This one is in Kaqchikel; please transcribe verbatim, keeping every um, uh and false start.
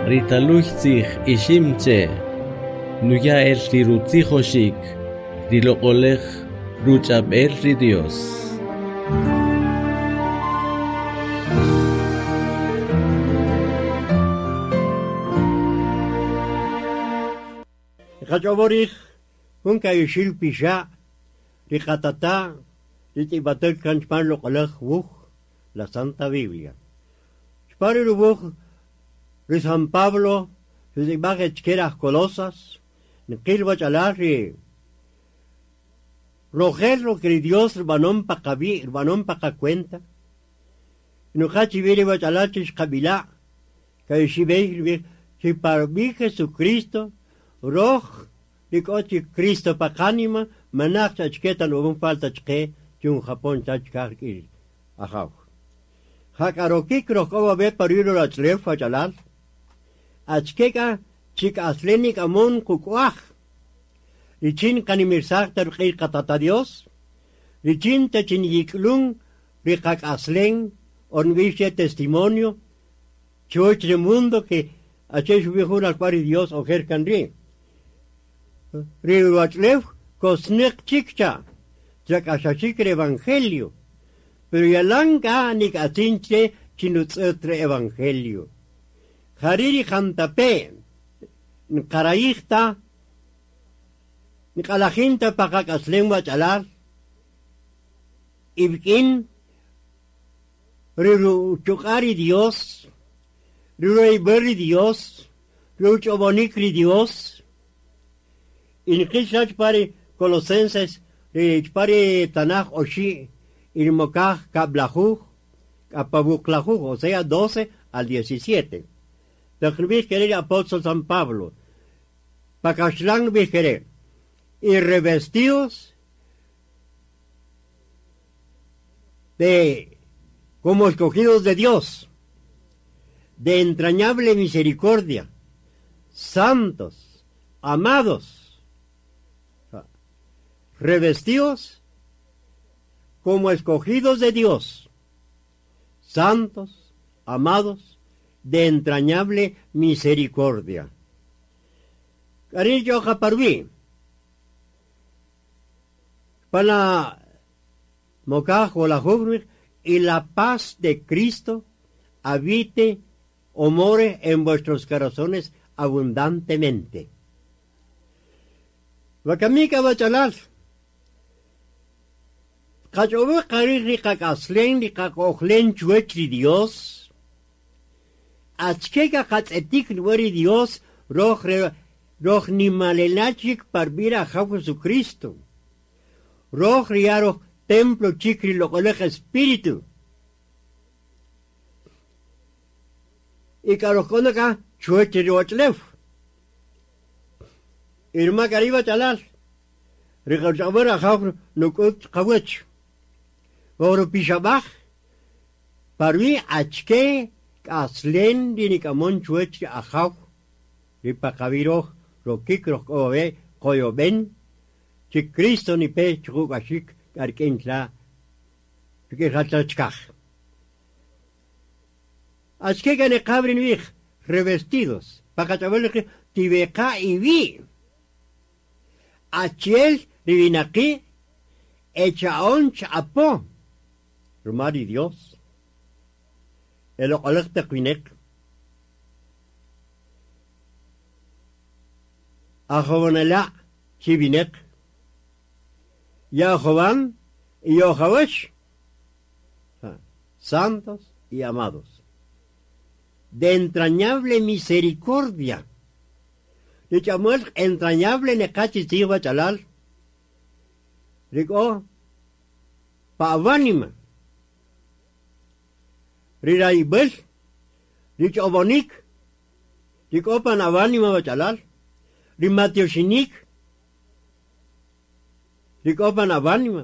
Ri taluy tzij ixim che, nuya el ri rutzijoxik, ri loq'olej ruch'ab'el ri Dios. Qach'oborij jun kayuxil pixa' ri qatata' ri tz'ib'atel kan chpan loq'olej wuj la Santa Biblia. Chpan ri wuj ri San Pablo tz'ib'aj chke aj Colosas nqil wach'alal ri rojel lo que Dios rb'anon pa qabi' rb'anon pa qacuenta nuqa chib'i ri wach'alal chixqab'ila' kayuxib'ey rib'ij chi parb'i Jesucristo roj rik'o chi Cristo pa qanima manaj chachketa nub'an falta chqe chun Japón chachkaj rik'in ajaw. Jak'arokik rojk'o be pariro rach'lew wach'alal achkeka chik'aslenik amon kuk'uaj richin qanimirsaj ta riq'ij qatata Dios richin ta chinyik'lun ri qak'aslen o nb'ix testimonio chuwach ri mundo que ache xub'ij jun alk'wal Dios ojer kan ri' ri ruwach'lew kosneq chikcha chak'axaxik ri evangelio pero yalan k'a nik'atzin che chinutz'ët ri evangelio jari' ri jantape' nqarayijta nq'alajinta pa qak'aslem wach'alal ib'k'in ri ruchuq'a' ri Dios ri ruyb'al ri Dios ruch'ob'onik ri Dios y nqil chpa ri Colosenses ri chpa ri Tanaj oxi' y ri mokaj kab'lajuj k'apabuqlajuj o sea doce al diecisiete taq nb'ij kere ri apóstol San Pablo pakaxlan nb'ij kere y revestidos de como escogidos de Dios de entrañable misericordia santos amados revestidos como escogidos de Dios santos amados de entrañable misericordia. Cariño japarví para mokaj o la y la paz de Cristo habite o more en vuestros corazones abundantemente. Wakamika wachalal qach'owe qarij ri qak'aslen ri qak'ojlen chuwach ri Dios achkeka qatz'etik ri Dios roj roj nimalelachik parb'ir ajaw Jesucristo roj riaroj templo chik ri loq'olej Espíritu y k'arojk'onaka chuwach ri wach'lew irma k'ariba chalal ri qach'ab'er ajaw nuk'ut qawach oro pixab'aj parwi achke k'aslen ri nik'amon chuwach ri ajaw ri paqab'iroj rokik rojk'obe qoyob'en chi Cristo nipe chuk'axik k'ark'in tla rik'in achke k'aneqab'ri nb'ij revestidos paqach'ab'el tibeqa iwi achiel riwinaqi echa'on ch'apo ruma ri Dios el loq'olej taq wineq ajob'anela' chiwineq Yajovan y Yojawesh santos y amados de entrañable misericordia ri ch'amuel entrañable neqachi tzij wach'alal rik'o pa'awanima ri rayb'el ri ch'ob'onik rik'o pan awanima wach'alal ri matioxinik rik'o pan awanima